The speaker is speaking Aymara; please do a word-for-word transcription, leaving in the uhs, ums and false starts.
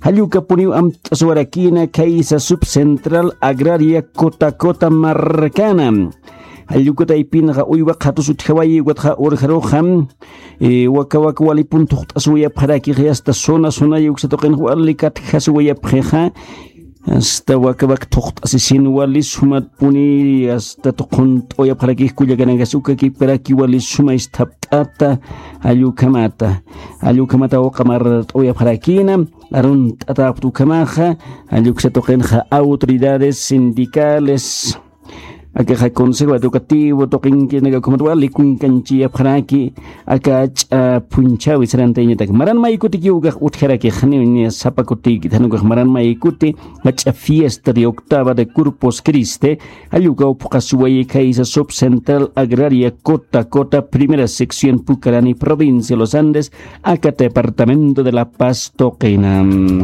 Jallukapuniw amt'aswarakina khaysa subcentral agraria kota kota markana. Jallukataypinxa uywa qhatus utjawayi ukatxa urjaruxa, wakawak walipun thuqt'asiwayapxarakixi asta zona zonaya uksatuqinxa wali katjasiwayapxixa. Asta wakawak thuqt'asisin wali sumatpuni asta thuqhunt'awayapxarakix kullakanakas ukakipkaraki wali suma isthapt'ata. Jallukhamata jallukhamata uqamart'awayapxarakina. Arunt'atapxta ukhamaxa. Jalluksa tuqinxa autoridades sindicales, akaxa consejo educativo tuqinkinaka ukhamat wali kunkanchiyapxaraki. Aka ach'a phunchhawi sarantayañatak maran maykutikiw ukax utjarakixaniw niya sapa kutiykit jan ukax maran maykuti. Ach'a fiesta de octava de corpus criste, jallukawpxaswayi khaysa subcentral agraria kota kota primera sección pucarani provincia los andes, aka departamento de la paz tuqina.